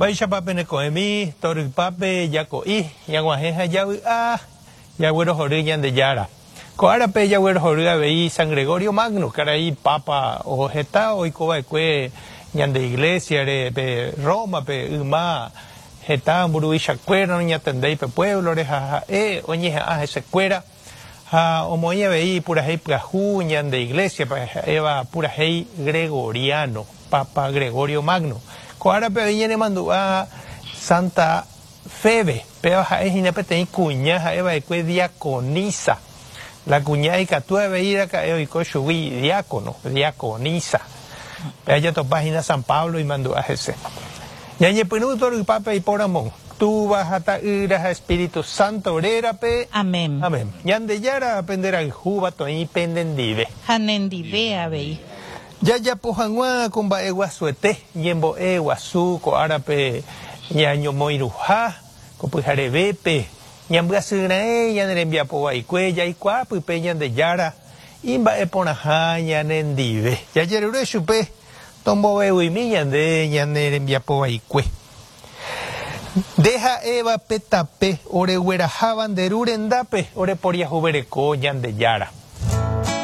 Mba'éichapa peneko'ẽmi torypápe jako'i, ñag̃uahẽ ha javy'a, jaguerohory Ñandejára. Ko árape jaguerohory avei San Gregorio Magno, karai Pápa heta oikova'ekue ñande Iglesia-re pe Roma-pe yma heta mburuvichakuéra noñatendéi pe pueblo-re ha ha'e oñeha'ã hesekuéra ha omoĩ avei purahéi pyahu ñande Iglesia-pe ha'éva purahéi gregoriano, Papa Gregorio Magno. Ko árape avei ñanemandu'a Santa Febe, péva ha'e hína peteĩ kuña ha'e va'ekue diaconisa. La kuña ikatu avei raka'e oiko chugui diácono, diaconisa. Péva jatopa hína San Pablo imandu'a hese. Ñañepyrũ torypápe aipóramo, Túva ha Ta'ýra ha Espíritu Santo rérape. Amén. Amén. Ñandejára penderayhúva toĩ penendive. Ha nendive avei. Jajapo hag̃ua ko mba'eguasuete ñembo'e guasu ko árape ñañomoirũha ko pyharevépe, ñambyasyraẽ ñane rembiapo vaikue jaikuaa pype Ñandejára imba'eporãha ñanendive. Jajerure chupe tombovevuimi ñande ñane rembiapo vaikue. Nde ha'éva pe tape oregueraháva nde Ru rendápe oreporiahuvereko Ñandejára.